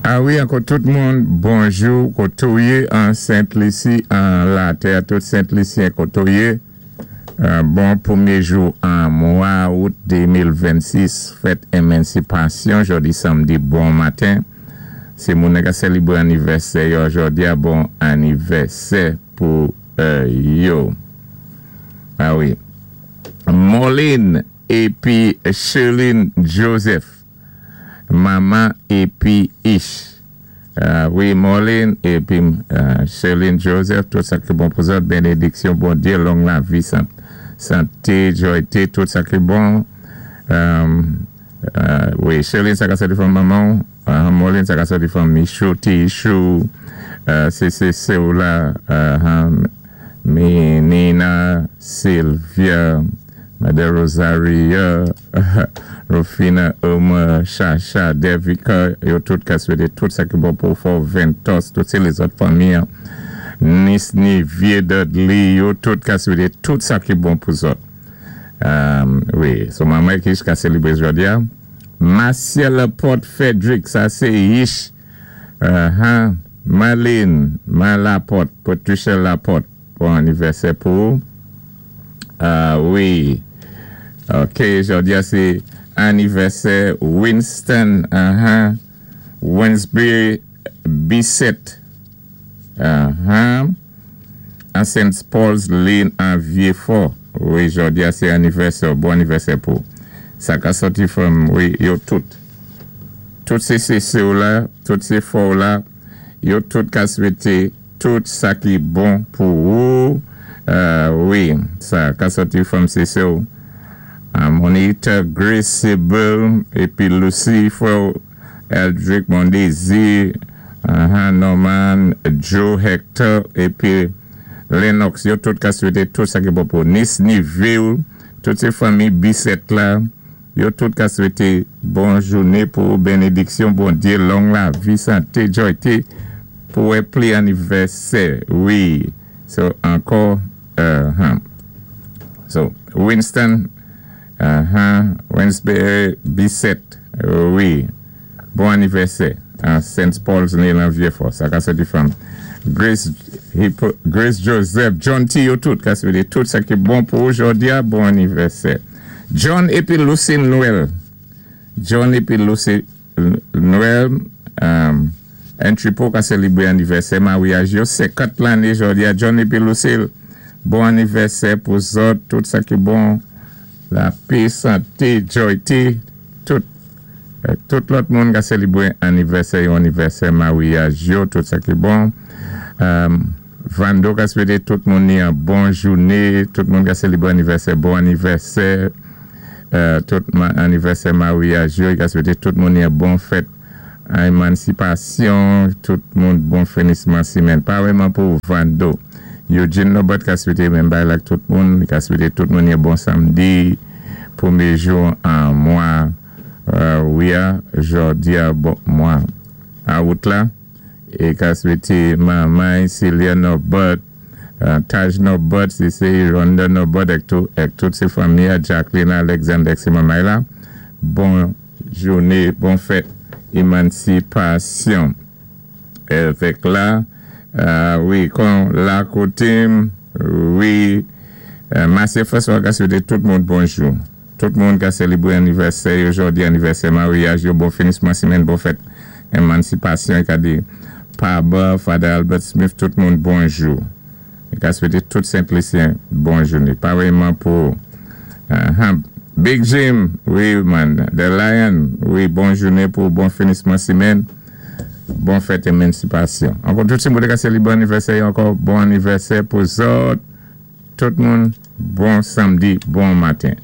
A wi, ankò tout moun, bonjou, koté ou yé an Sent Lisi, an latè, tout Sent Lisyen koté ou yé. Bon pwémyé jou an mwa out 2026, fèt Émansipasyon, jòdi samdi, bon maten. Si moun ka sélibwé anivèsè yo jòdi a, bon anivèsè pou yo. A wi. Moline épi Sherline Joseph. Mama épi Ish. Wi, Moline épi Sherline Joseph, tout sa ki bon pou zòt, bénédiksyon Bondyé, long lavi, santé, jwayté, tout sa ki bon. Wi, Sherline, sa ka sòti fanm manman, Moline, sa ka sòti fanm Michou, Tichou, sé ou la, Nina, Sylvia, Mother Rosaria, Rufina, Omar, Chacha, Devika, yo tout ka swété tout sa ki bon pou Fort Ventos, tout sé lézòt fanmi, Nice, Nivier, Dudley, yo tout ka swété tout sa ki bon pou zòt. Wi, so manman ki ka sélibwé jòdi a. Marcia Laporte Frederick, sa sé Ish, Marlene, Malaporte, Patricia Laporte, bon anivèsè pou. Wi, ok, jòdi a sé anivèsè Winston, Winsbury Bissett, an St. Paul's Lane an Vieux-Fort. Wi, jòdi a sé anivèsè, bon anivèsè pou. Sa ka sòti fanm, wi, yo tout. Tout sé sé ou la, tout sé fò ou la, yo tout ka swété tout sa ki bon pou ou. Wi, sa ka sòti fanm sé sé ou. Monita, Grace, Sybil, épi Lucy, frè Eldrick, Mondésir, Norman, Joe, Hector, épi Lennox, yo tout ka swété tout sa ki bon pou Nice, Niville, tout sé fanmi Bissett la, yo tout ka swété bon jouné pou bénédiksyon Bondyé, long lavi, santé, jwayté, pou wè pli anivèsè, wi. So, ankò, So, Winston, Winsbury Bissett, wi, bon anivèsè, an St. Paul's Lane an Vieux-Fort, sa ka sòti fanm. Grace, Grace Joseph, John T. Yo tout, ka swété tout sa ki bon pou jòdi a, bon anivèsè. John épi Lucille Noël. John épi Lucille Noël, Entry-Po ka sélibwé anivèsè maryaj yo, 50 lanné jòdi a, John épi Lucille, bon anivèsè pou zòt, tout sa ki bon, lapè, santé, jwayté, tout, tout lòt moun ka sélibwé anivèsè yo, anivèsè maryaj yo, tout sa ki bon. Vando ka swété tout moun ni an bon jouné, tout moun ka sélibwé anivèsè, bon anivèsè, tout anivèsè maryaj yo, ka swété tout moun ni an bon fèt Émansipasyon, tout moun bon finisman simenn. Parèyman pou Vando. Eugene Norbert ka swété menm bagay la tout moun, ka swété tout moun yon bon samdi, pwémyé jou an mwa, wi a, jòdi a, bon mwa out la, é ka swété manman Celia Norbert, Taj Norbert, si sé Rhonda Norbert èk tout, èk tout sé fanmi Jacqueline Alexander sé manman la, bon jouné, bon fèt Émansipasyon. Évèk la, wi, kon la koté, wi, Massé François ka swété tout moun bonjou. Tout moun ka sélibwé anivèsè jòdi, anivèsè maryaj, yo, bon finisman simenn, bon fèt Émansipasyon, ka di Paba, Father Albert Smith, tout moun bonjou. Ka swété tout Sent Lisyen bon jouné. Parèyman pou Big Jim, wi man, The Lion, wi, bon jouné pou bon finisman simenn, bon fèt Émansipasyon. Ankò tout si moun ka sélibwé anivèsè, ankò bon anivèsè pou zòt, tout moun, bon samdi, bon maten.